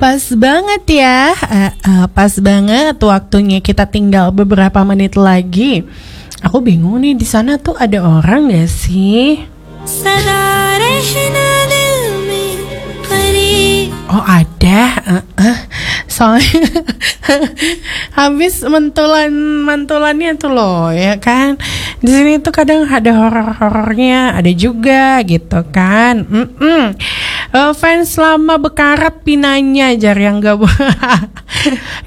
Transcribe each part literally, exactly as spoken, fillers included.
Pas banget ya, eh, eh, pas banget waktunya, kita tinggal beberapa menit lagi. Aku bingung nih, di sana tuh ada orang gak sih? सदा रहना दिल में करीब। Oh, ada, eh, eh. Soalnya habis mentulan mantulannya tuh loh, ya kan. Di sini tuh kadang ada horor-horornya, ada juga gitu kan. Mm-mm. Eh, fans lama bekarat pinanya, jar yang gabung.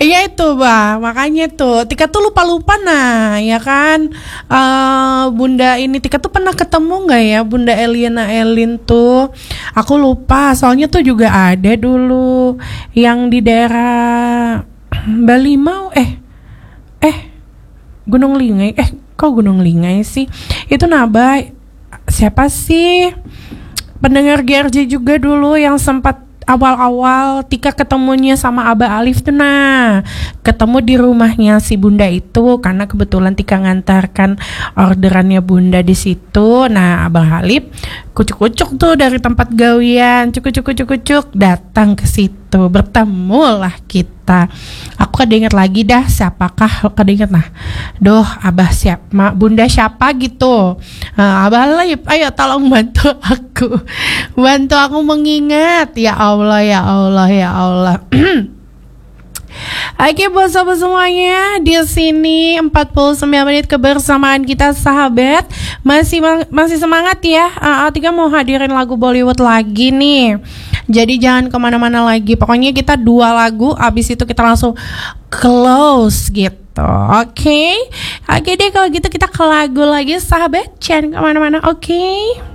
Iya itu, bah, makanya tuh Tika tuh lupa-lupa, nah, ya kan. Eh, Bunda ini, Tika tuh pernah ketemu nggak ya Bunda Eliana Elin tuh? Aku lupa, soalnya tuh juga ada dulu yang di daerah Balimau, eh, eh, Gunung Lingai, eh, kok Gunung Lingai sih? Itu naba, siapa sih? Pendengar G R J juga dulu yang sempat awal-awal Tika ketemunya sama Abah Alif tuh, nah, ketemu di rumahnya si Bunda itu karena kebetulan Tika ngantarkan orderannya Bunda di situ. Nah, Abah Alif kucuk-kucuk tuh dari tempat gawian, cukucuk-cucuk-cucuk, datang ke situ, bertemulah kita. Aku kada ingat lagi dah siapakah, kada ingat, nah. Duh, Abah siap, ma, Bunda siapa gitu. Nah, Abah Alif, ayo tolong bantu aku. Bantu aku mengingat. Ya Allah, ya Allah, ya Allah. Oke, buat sobat semuanya, di sini empat puluh sembilan menit kebersamaan kita, sahabat. Masih mang-, masih semangat ya. Ah, ah, Tika mau hadirin lagu Bollywood lagi nih. Jadi jangan kemana-mana lagi. Pokoknya kita dua lagu, abis itu kita langsung close gitu. Oke. Oke deh, kalau gitu kita ke lagu lagi, sahabat. Jangan kemana-mana, oke?